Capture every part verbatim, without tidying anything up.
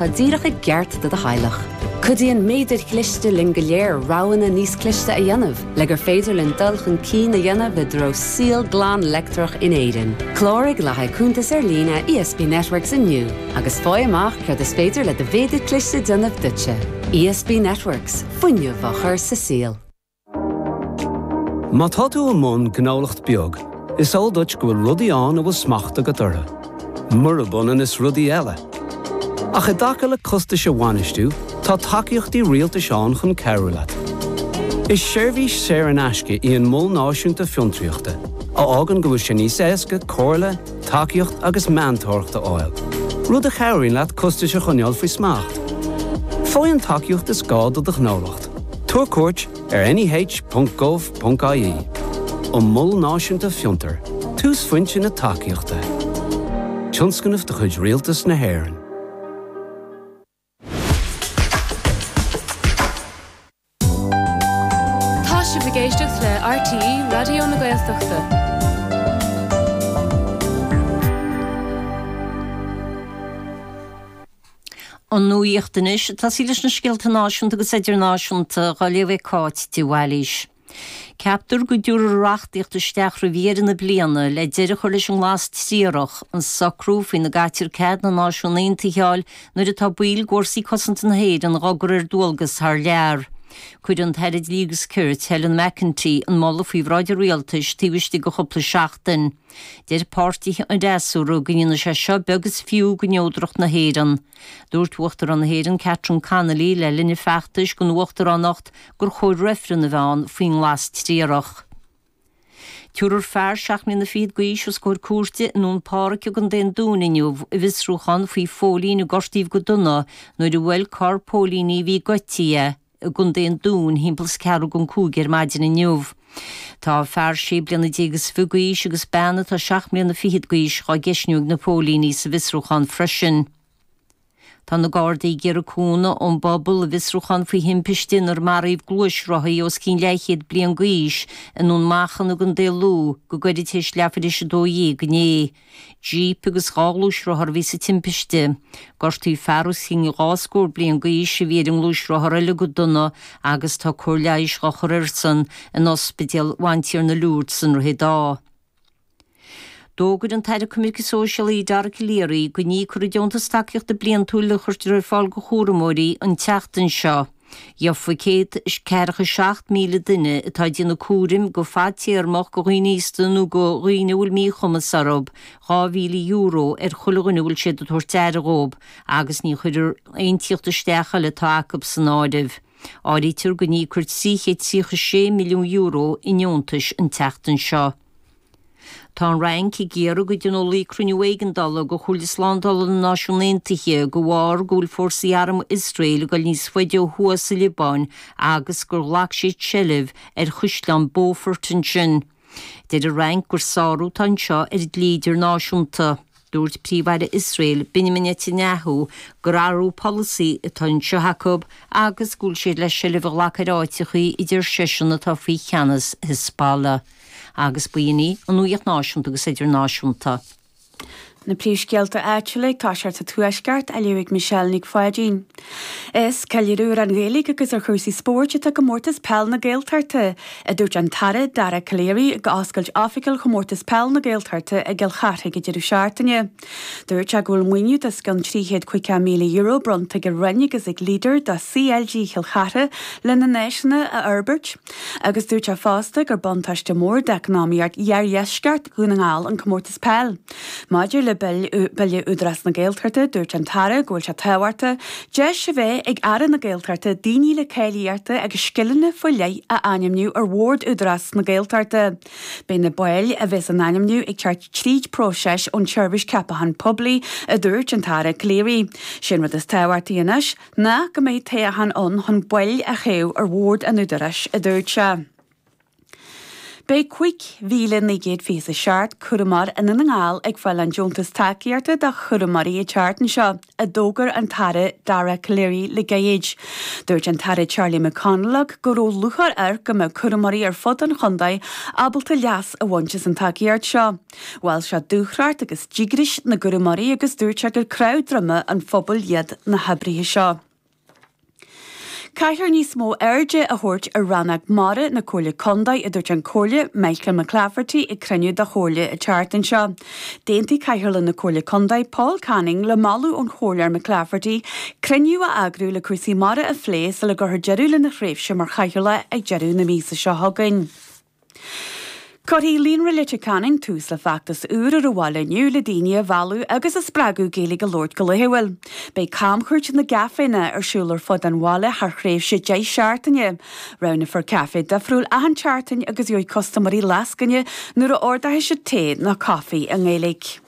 Tá díreach i gceart do do theaghlach. Cuidíonn méadair chliste linn go léir roghanna níos cliste a dhéanamh, le gur féidir linn dul chun cinn a dhéanamh i dtreo saol glan leictreach in Éirinn. Cláraigh le haghaidh cuntas ar líne ESB Networks inniu, agus faigh amach céard is féidir le do mhéadar cliste déanamh duitse. ESB Networks, fuinneamh á chur sa saol. Má tá tú i mbun gnólacht beag, is eol duit go bhfuil rudaí ann a bhfuil smacht agat orthu. Murab ionann is rudaí eile. Ach i dtaca le costais a bhainistiú, tá tacaíochtaí rialtais ann chun cabhrú leat. Is seirbhís saor in aisce í an Mol Náisiúnta Fiontraíochta, a fhágann go bhfuil sé níos éasca comhairle, tacaíocht agus meantóireacht a fháil, rud a chabhraíonn leat costais a choinneáil faoi smacht. Faigh an tacaíocht is gá do do ghnólacht. Tabhair cuairt ar neh.gov.ie. An Mol Náisiúnta Fiontar, túsphointe na tacaíochta. Tionscnamh de chuid Rialtas na hÉireann. Tá sibh ag éisteacht le RTÉ Raidió na Gaeltachta. An nuacht anois, tosaí leis na scéalta náisiúnta agus idirnáisiúnta, á léamh ag Cáit de Bhailís. Ceaptar go dtabharfar reachtaíocht isteach roimh dheireadh na bliana le deireadh a chur leis an nglas triarach, an socrú faoina gcaitear cead na Náisiún Aontaithe a fháil nuair atá baill d'Fhórsaí Cosanta na hÉireann á gcur ar dualgas thar lear. Cuirfidh an tAire Dlí agus Cirt, Helen McEntee, an moladh faoi bhráid an Rialtais taobh istigh de chúpla seachtain. Deir páirtithe an fhreasúra go ndéanfaidh sé seo beag is fiú de neodracht na hÉireann. Dúirt Uachtarán na hÉireann Catherine Connolly le linn a feachtais don uachtaránacht gur chóir reifreann a bheith ann faoin nglas triarach. Tabharfar fear seacht mbliana fichead d'aois os comhair cúirte i nDún Páraic i gContae an Dúin inniu i bhfiosrúchán faoi phóilín a gortaíodh go dona nuair a bhuail carr póilíní a bhí ag eití é i gContae an Dúin thimpeall is ceathrú don cúig ar maidin inniu. Tá fear sé bliana déag is fiche d'aois agus bean atá seacht mbliana fichead d'aois dhá gceistniú ag na póilíní sa bhfiosrúchán freisin. Tá na Gardaí ag iarraidh cúnamh ón bpobal i bhfiosrúchán faoi thimpiste inar maraíodh gluaisrothaí os cionn leathchéad bliain d'aois i nDún Machan i gContae Lú go gairid tar éis leathuair tar éis a dó dhéag inné. Jíp agus dhá ghluaisrothar a bhí sa timpiste. Gortaíodh fear os cionn dhá scór bliain d'aois a bhí ar an ngluaisrothar eile go dona agus tá cóir leighis dhá chur airsean in Ospidéal Bhantiarna Lourdes sa nDroichead Átha. D'fhógair an tAire Coimirce Sóisialaí Dara Calleary go n-íocfar an deontas tacaíochta bliantúil a chuirtear ar fáil do chúramóirí an tseachtain seo. Gheofaidh céad is ceathracha seacht míle duine atá ag déanamh cúraim go fadtéarmach do dhaoine aosta nó do dhaoine a bhfuil míchumas orthu dhá mhíle euro ar chuile dhuine a bhfuil siad ag tabhairt aire dhóibh agus ní chuirfear aon tíocht isteach eile atá acu san áireamh. Áirítear go n-íocfar trí chéad tríocha sé milliún euro i ndeontais an tseachtain seo. Tá an Fhrainc ag iarraidh go dtionólfaí cruinniú éigeandála de Chomhairle Slándála na Náisiún Aontaithe de bharr go bhfuil fórsaí arm Iosrael ag dul níos faide ó thuaidh sa Liobáin agus gur ghlac siad seilbh ar Chaisleán Beaufort ansin. Deir an Fhrainc gur sárú atá anseo ar an dlí idirnáisiúnta. Dúirt Príomh-Aire Iosrael, Benjamin Netanyahu, gur athrú polasaí atá anseo acu agus go bhfuil siad le seilbh a ghlacadh ar áiteachaí a deir seisean atá faoi cheannas Hezbollah. Agus b'in í an nuacht náisiúnta agus idirnáisiúnta. Na príomhscéalta áitiúla ag toiseacht sa Tuaisceart á léamh ag Michelle Nic Pháidín. Is ceiliúradh ar an Ghaeilge agus ar chúrsaí spóirt atá i gComórtas Peil na Gaeltachta, a dúirt an tAire Dara Calleary ag oscailt oifigiúil Chomórtas Peil na Gaeltachta i gCill Charthaigh ag deireadh seachtaine. Dúirt sé go bhfuil maoiniú d'os cionn trí chéad caoga míle euro bronnta ag an Roinn agus ag Leader do CLG Chill Chartha lena n-áiseanna a fhorbairt. Agus dúirt sé fosta gur buntáiste mór d'eacnamaíocht iardheisceart Dhún na nGall an comórtas peil. Maidir le Bille Údarás na Gaeltachta, dúirt an tAire go bhfuil sé tábhachtach deis a bheith ag Aire na Gaeltachta daoine le cáilíochtaí agus scileanna faoi leith a ainmniú ar bhord Údarás na Gaeltachta. Beidh na baill a bheas á n-ainmniú ag teacht tríd próiseas ón tSeirbhís Ceapachán Poiblí, a dúirt an tAire Calleary. Sé an rud is tábhachtaí anois ná go mbeidh toghchán ann chun baill a thoghadh ar bhord an Údaráis, a dúirt sé. Beidh cúig mhíle naoi gcéad fiche is a seacht cúramóir i nDún na nGall ag fáil an deontas tacaíochta do chúramóirí an tseachtain seo, a d'fhógair an tAire Dara Calleary le gairid. Dúirt an tAire Charlie McConalogue go raibh lúcháir air go mbeadh cúramóirí ar fud an chontae ábalta leas a bhaint as an tacaíocht seo. Mhol sé dúthracht agus díograis na gcúramóirí agus dúirt sé gur cnámh droma an phobail iad na hoibrithe seo. Caithfear níos mó airde a thabhairt ar rannóg mara na Comhairle Contae, a dúirt an Comhairleoir Michael McClafferty ag cruinniú de Chomhairle an tseachtain seo. D'aontaigh Cathaoirleach na Comhairle Contae Paul Canning le moladh ón Chomhairleoir McClafferty cruinniú a eagrú le cúrsaí mara a phlé sula gcuirfear deireadh lena thréimhse mar chathaoirleach ag deireadh na míosa seo chugainn. Cuirfidh Líonra Leitir Ceanainn tús le feachtas úr ar an bhaile inniu le daoine a mhealladh agus a spreagadh Gaeilge a labhairt go laethúil. Beidh camchuairt na gcaiféanna ar siúl ar fud an bhaile thar thréimhse deich seachtaine. Roghnófar caife difriúil achan tseachtain agus gheobhaidh custaiméirí lascaine nuair a ordóidh siad tae nó caife i nGaeilge.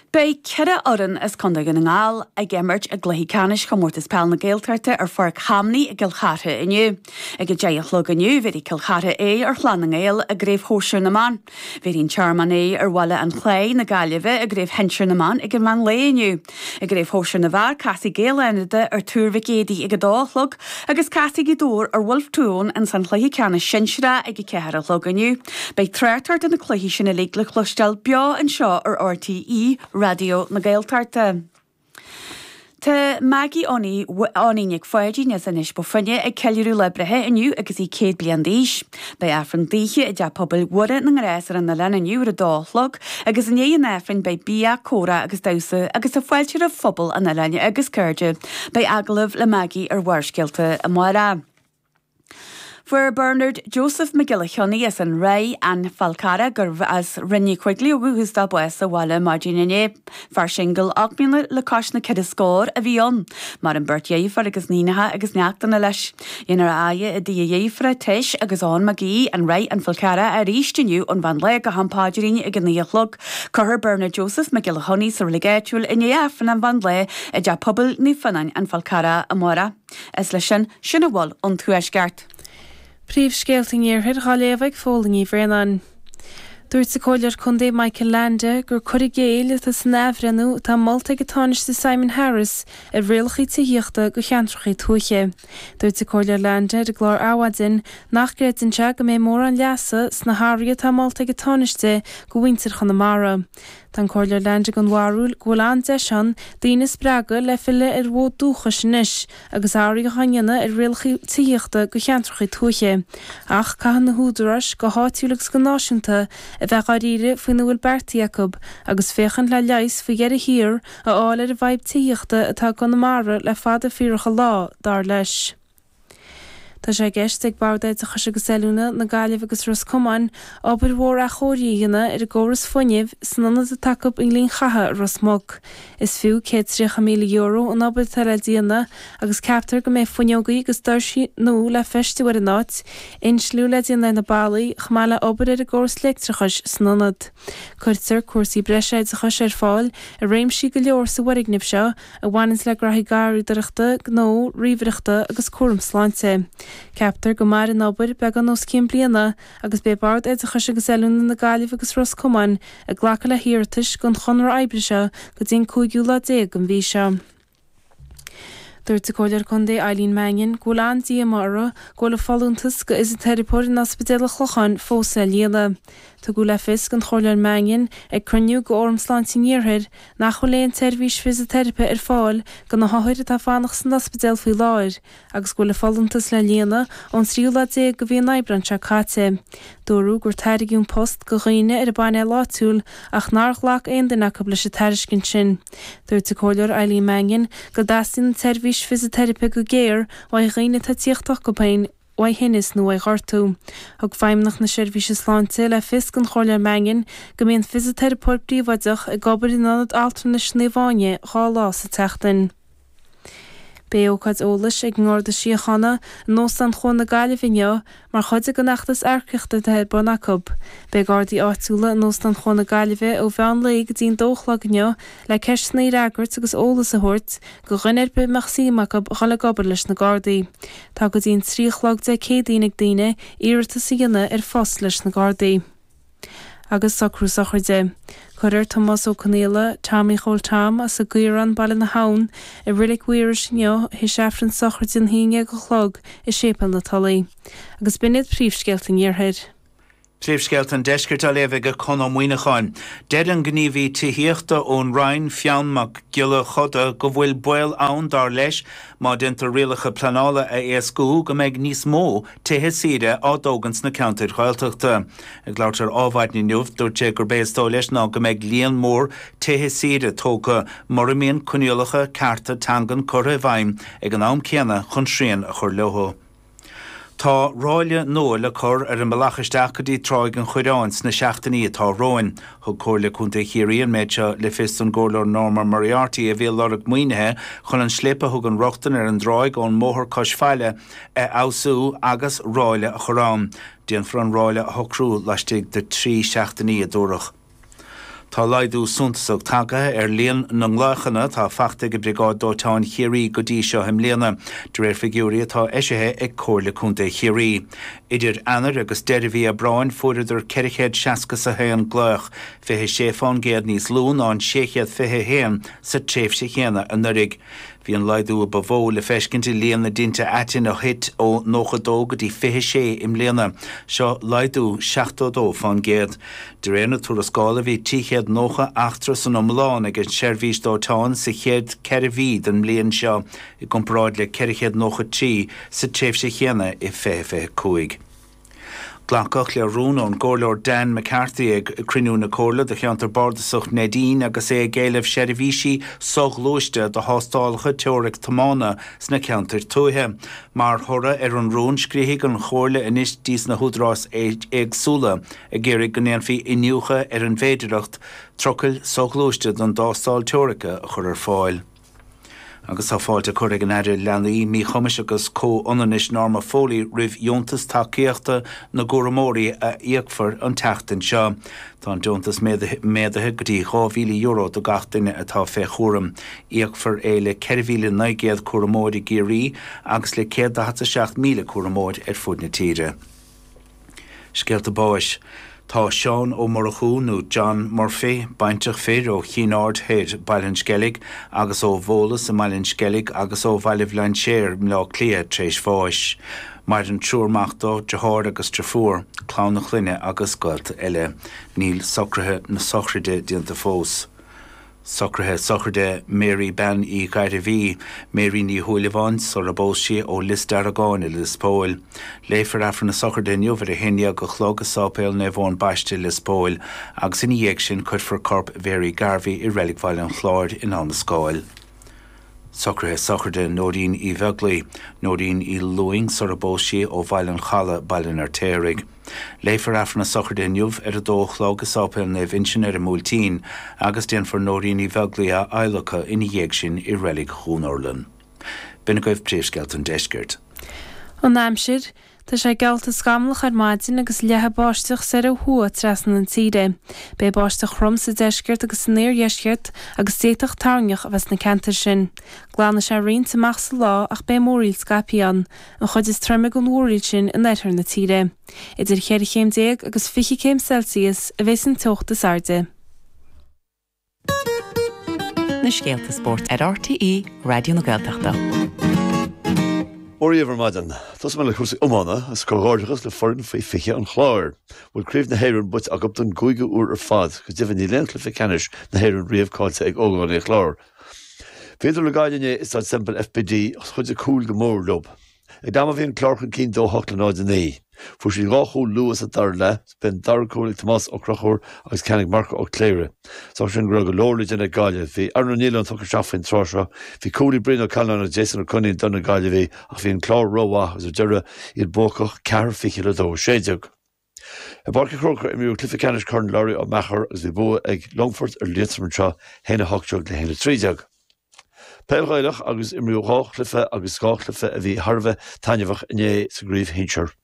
Beidh ceithre fhoireann as Contae Dhún na nGall ag imirt i gcluichí ceannais Chomórtas Peile na Gaeltachta ar Pháirc Chamnaí i gCill Chartha inniu. Ag a deich a chlog inniu, bhéarfaidh Cill Chartha aghaidh ar Chlann na nGael i gCraobh Shóisir na mBan. Bhéarfaidh an Tearmann aghaidh ar Bhaile an Chlaí na Gaillimhe i gCraobh Shinsir na mBan ag an mheán lae inniu. I gCraobh Shóisir na bhFear, casfaidh Gaeil Fhánada ar Tuar Mhic Éadaigh ag a dó a chlog agus casfaidh Gaoth Dobhair ar Bhulf Tón ins an chluiche ceannais sinsearach ag a ceathair a chlog inniu. Beidh tráchtaireacht ar na cluichí sin uilig le cloisteáil beo anseo ar R T E Raidió na Gaeltachta. Tá Maggie Oní Oní Nic Pháidín as Inis Bó Finne ag ceiliúradh lá breithe inniu agus í céad bliain d'aois. Beidh Aifreann daoithe i dTeach Pobail Mhuire na nGrás ar an oileán inniu ar a dó a chlog agus i ndiaidh an Aifrinn beidh bia, comhrá agus damhsa agus tá fáilte roimh phobal an oileáin agus cairde. Beidh agallamh le Maggie ar Bharrscéalta amárach. Fuair Bernard Joseph Mac Giolla Chionnaith as an Ráth an Fál Carrach gurbh as Rinn Uí Choigligh ó dhúchas dó bás sa bhaile maidin inné. Fear singil ocht mbliana le cois na ceithre scór a bhí ann, maireann beirt dheirfiúr agus níonacha agus neachtanna leis. Dhéanfar a fhaire i dtigh a dheirfiúra Teis agus Eoin Mac Aoidh an Ráth an Fál Carrach arís inniu ón mheán lae go ham paidrín ag a naoi a chlog. Cuirfear Bernard Joseph Mac Giolla Chionnaith sa reilig áitiúil i ndiaidh Aifreann an mheán lae i dTeach Pobail Naomh Fionnáin an Fál Carrach amárach. Is leis sin sin a bhfuil ón Tuaisceart. Príomhscéalta an Iarthair á léamh ag Fódhla Ní Bhraonáin. Dúirt an Comhairleoir Contae Michael Leainde gur cur i gcéill atá san athbhreithniú atá molta ag an Tánaiste Simon Harris ar rialacha tithíochta do cheantracha tuaithe. Dúirt an Comhairleoir Leainde ar an gclár Adhmhaidin nach gcreideann sé go mbeidh mórán leasa sna hathruithe atá molta ag an Tánaiste do mhuintir Chonamara. Tá an Comhairleoir Leainde den bharúil go bhfuil an-deis ann daoine a spreagadh le filleadh ar bhfód dúchais anois agus athruithe á ndéanamh ar rialacha tithíochta do cheantracha tuaithe. Ach caithfidh na húdaráis go háitiúil agus go náisiúnta a bheith dáiríre faoina bhfuil beartaithe acu agus féachaint le leigheas faoi dheireadh thiar a fháil ar an bhfadhb tithíochta atá i gConamara le fada fíorach an lá dar leis. Tá sé i gceist ag Bord Oideachais agus Oiliúna na Gaillimhe agus Ros Comáin obair mhór athchóirithe a dhéanamh ar an gcóras fuinnimh san ionad atá acu i nGleann Chatha i Ros Muc. Is fiú céad tríocha míle euro an obair atá le déanamh agus ceaptar go mbeidh fuinneogaí agus doirsí nua le feistiú ar an áit, insliú le déanamh ar na ballaí, chomh maith le obair ar an gcóras leictreachais san ionad. Cuirtear cúrsaí breise oideachais ar fáil i réimsí go leor sa bhfoirgneamh seo a bhaineann le gnoithí garraíodóireachta, gnó, ríomhaireachta agus cúram sláinte. Ceaptar go mairfidh an obair beagán os cionn bliana agus beidh Bord Oideachais agus Oiliúna na Gaillimhe agus Ros Comáin ag glacadh le hiarratais don chonradh oibre seo go dtí an cúigiú lá déag den mhí seo. Dúirt an Comhairleoir Contae Eileen Mannion go bhfuil an-díomá uirthi go bhfuil a folúntas go fhisiteiripeoir in Ospidéal an Chlocháin fós le líonadh. Tugadh le fios don Chomhairleoir Mannion ag cruinniú de Fhóram Sláinte an Iarthair nach bhfuil aon tseirbhís fisiteiripe ar fáil do na hothair atá fanacht san ospidéal faoi láthair, agus go bhfuil a folúntas le líonadh ón tríú lá déag de mhí an Aibreáin seo caite. Dúradh gur tairgeadh an post do dhaoine ar an bpainéal áitiúil ach nár ghlac aon duine acu leis an tairiscint sin. Dúirt an Comhairleoir Eileen Mannion go dteastaíonn an tseirbhís fisiteiripe go géar uaidh dhaoine atá ag tíocht chucu féin uaidh thinneas nó uaidh ghortú. Thug Feidhmeannacht na Seirbhíse Sláinte le fios don Chomhairleoir Mannion go mbíonn fisiteiripeoir príobháideach ag obair in ionad altranais Naomh Áine dhá lá sa tseachtain. Beidh ócáid eolais ag an nGarda Síochána in Óstán Chuan na Gaillimhe inniu mar chuid den fheachtas earcaíochta atá ar bun acu. Beidh Gardaí áitiúla in Óstán Chuan na Gaillimhe ó mheán lae go dtí an dó a chlog inniu le ceisteanna a fhreagairt agus eolas a thabhairt do dhuine ar bith a mbeadh suim acu dhul ag obair leis na Gardaí. Tá go dtí an trí a chlog Dé Céadaoin ag daoine iarratas a dhéanamh ar phost leis na Gardaí. Agus socrú sochraide. Cuirfear Tomás Ó Conaola, Tommy Chóil Tom, as an gCaorán, Baile na hAbhann, i Reilig Mhaorais inniu, théis Aifreann sochraide an haon déag a chlog i Séipéal na Tulaí. Agus b'in iad príomhscéalta an Iarthair. Príomhscéalta an Deiscirt á léamh ag Conn Ó Muíneacháin. Deir an gníomhaí tithíochta ón Roinn, Fionn Mac Giolla Chuda, go bhfuil baol ann, dar leis, má déantar rialacha pleanála a éascú, go mbeidh níos mó tithe saoire á dtógaint sna ceantair Ghaeltachta. Ag labhairt ar Adhmhaidin inniu, dúirt sé gurb é is dóigh leis ná go mbeidh líon mór tithe saoire tógtha mura mbíonn coinníollacha cearta teangan curtha i bhfeidhm ag an am céanna chun srian a chur leo. Tá ráille nua le cur ar an mbealach isteach go dtí Tráigh an Choireáin sna seachtainí atá romhainn. Thug Comhairle Contae Chiarraí an méid seo le fios don gComhairleoir Norma Moriarty a bhí ag lorg maoinithe chun an slip a thugann rochtain ar an dtráigh ón mbóthar cois faille a fheabhsú agus ráille a chur ann. Déanfar an ráille a shocrú laistigh de trí seachtainí, a dúradh. Tá laghdú suntasach tagtha ar líon na nglaochanna atá faighte ag Briogáid Dóiteáin Chiarraí go dtí seo i mbliana, de réir figiúirí atá eisithe ag Comhairle Contae Chiarraí. Idir Eanáir agus deireadh mhí Aibreáin fuaireadar ceithre chéad seasca is a haon glaoch, fiche sé fán gcéad níos lú ná an sé chéad fiche a haon sa tréimhse chéanna anuraidh. Bhí an laghdú a ba mhó le feiscint i líon na dtinte aitinn a thit ó nócha dó go dtí fiche sé i mbliana. Seo laghdú seachtó dó fán gcéad. De réir na tuarascála bhí trí chéad nócha eachtra san iomlán ag an seirbhís dóiteáin sa chéad ceithre mhí den mbliain seo i gcomparáid le ceithre chéad nócha trí sa tréimhse chéanna i fiche fiche cúig. Glacadh le rún ón gComhairleoir Dan McCarthy ag cruinniú na Comhairle do cheantar bardasach Neidín agus é ag éileamh seirbhísí soghluaiste do thástálacha teoiric tiomána sna ceantair tuaithe. Mar thoradh ar an rún, scríobfaidh an Chomhairle anois dtí na húdaráis éagsúla ag iarraidh go ndéanfaí iniúchadh ar an bhféidearthacht trucail soghluaiste don dtástáil teoirice a chur ar fáil. Agus tá fáilte curtha ag an Aire Leanaí, Míchumais agus Comhionannais Norma Foley roimh dheontas tacaíochta na gcúramóirí a íocfar an tseachtain seo. Tá an deontas méadaithe go dtí dhá mhíle euro do gach duine atá fé chúram. Íocfar é le ceithre mhíle naoi gcéad cúramóir i gCiarraí agus le céad daichead a seacht míle cúramóir ar fud na tíre. Scéalta báis. Tá Seán Ó Murchú nó John Murphy, baintreach fir ó Chinn Aird Thoir, Baile an Sceilg, agus ó Bhólas i mBaile an Sceilg agus ó Bhaile Bhlainséir i mBleá Cliath tar éis bháis. Maireann triúr mac dó, deartháir agus deirfiúr, clann a chlainne agus gaolta eile. Níl socruithe na sochraide déanta fós. Socruithe sochraide Mary Bean Uí Ghairbhí, Mary Ní Shúilleabháin, sula bpós sí ó Lios Deargáin i Lios Póil. Léifear Aifreann na sochraide inniu ar a haon déag a chlog i Sáipéal Naomh Eoin Baiste, Lios Póil, agus ina dhiaidh sin cuirfear corp Mhary Garvey i Reilig Bhaile an Chláir in Abha na Scáil. Socruithe sochraide Nóirín Uí Bheaglaoi, Nóirín Uí Lúing sula bpós sí ó Bhaile an Chalaidh, Baile an Fheirtéaraigh. Léifear Aifreann na sochraide inniu ar a dó a chlog i Sáipéal Naomh Uinseann ar an mBuailtín agus déanfar Nóirín Uí Bheaglaoi a adhlacadh ina dhiaidh sin i Reilig Dhún Urlann. B'in agaibh príomhscéalta an deiscirt. An aimsir, Tá sé geallta scamallach ar maidin agus leathadh báisteach soir ó thuaidh trasna na tíre. Beidh báisteach throm sa deisceart agus san iardheisceart agus d'fhéadfadh toirneach a bheith sna ceantair sin. Glanfaidh sé roinnt amach sa lá ach beidh múraíl scaipthe ann, an chuid is troime den mhúraíl sin in oirthear na tíre. Idir cheithre chéim déag agus fiche céim Celsius a bheas an teocht is airde. Na scéalta spóirt ar RTÉ Raidió na Gaeltachta. Ó riamh ar maidin, Tosóidh mé le cúrsaí iomána agus comhghairdeachas le foireann faoi fiche an Chláir. Bhfuil Craobh na hÉireann buaite acu don gcúigiú uair ar fad, go deimhin níl aon chluiche ceannais na hÉireann riamh caillte ag ógánaigh an Chláir. Bhíodar le Gaillimh inné i Staid Semple FBD ach chuidigh cúil go mór leo. Ag am a bhí an Clár chun cinn dó hocht le náid a naoi. Fuair siad dhá chúl luath sa dara leath, b'é an dara cúl ag Tomás Ó Conchúir agus ceann ag Marco Ó Cléirigh. Is dócha sin go raibh go leor le déanamh ag Gaillimh. Bhí Aaron Ó Nialláin tugtha isteach faoin tráth seo. Bhí cúl ag Brian Ó Callanáin agus Jason Ó Coinín do na Gaillimhigh ach bhí an Clár rómhaith agus ar deireadh iad buacach ceathair fiche le dó sé déag. I bPáirc an Chrócaigh imríodh cluiche ceannais Chorn Larry Ó Meachair agus bhí bua ag Longfort ar Liatroim anseo, haon a hocht déag le haon a trí déag. Peil Ghaelach agus imríodh dhá chluiche agus dhá chluiche a bhí thar a bheith taitneamhach inné sa gcraobh shinsir.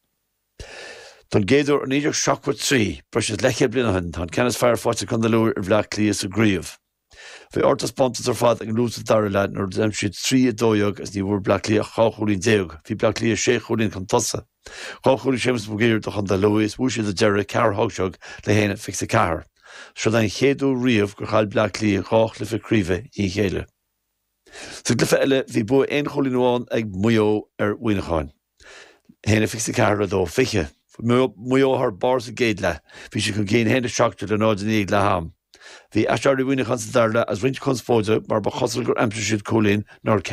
Don gcéad uair ó naoi déag seachtó a trí, breis is leathchéad bliain ó shin, tá an ceann is fearr faighte ag Contae Lú ar Bhleá Cliath sa gcraobh. Bhí ardtaispeántas ar fad ag an Lú sa dara leath nuair a d'aimsigh siad trí a dó dhéag agus ní bhfuair Bleá Cliath ach dhá chúilín déag. Bhí Bleá Cliath sé chúilín chun tosaigh. Dhá chúl ag Séamus Mac Uidhir do Chontae Lú is bhuaigh siad ar deireadh ceathair a hocht déag le haon fiche a ceathair. Seo é an chéad uair riamh gur chaill Bleá Cliath dhá chluiche craoibhe i ndiaidh a chéile. Sa gcluiche eile bhí bua aon chúilín amháin ag Maigh Eo ar Mhuineachán. a haon a fiche a ceathair le dó fiche. Bhí Maigh Eo thar barr sa gcéad leath. Bhí siad chun cinn a haon a seacht déag le náid a naoi ag leath am. Bhí aiséirí Mhuineacháin sa dara leath agus roinnt conspóide mar ba chosúil gur aimsigh siad cúilín nár ceadaíodh.